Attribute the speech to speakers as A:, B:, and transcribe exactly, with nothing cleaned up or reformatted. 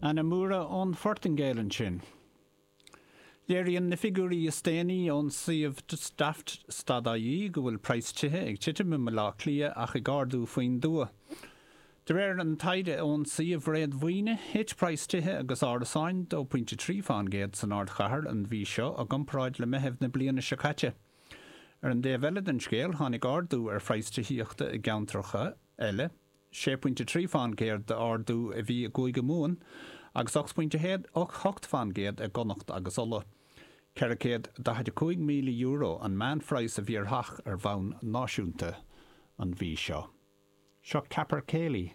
A: Ana Moura ón Phortaingéil ansin. Léiríonn na figiúirí is déanaí ón suíomh Daft.ie go bhfuil praghas tithe ag titim i mBaile Átha Cliath ach ag ardú faoin dtuath. De réir an taighde ón suíomh réadmhaoine, thit praghas tithe agus árasáin dó pointe trí faoin gcéad san ardchathair an mhí seo i gcomparáid le Meitheamh na bliana seo caite. Ar an dtaobh eile den scéal tháinig ardú ar phraghas tithíochta i gceantracha eile, sé pointe trí faoin gcéad d'ardú a bhí i gCúige Mumhan agus ocht pointe hocht faoin gcéad i gConnacht agus Uladh. Ceithre chéad daichead a cúig míle euro an meánphraghas a bhí ar theach ar bhonn náisiúnta an mhí seo. Seo Capercaillie.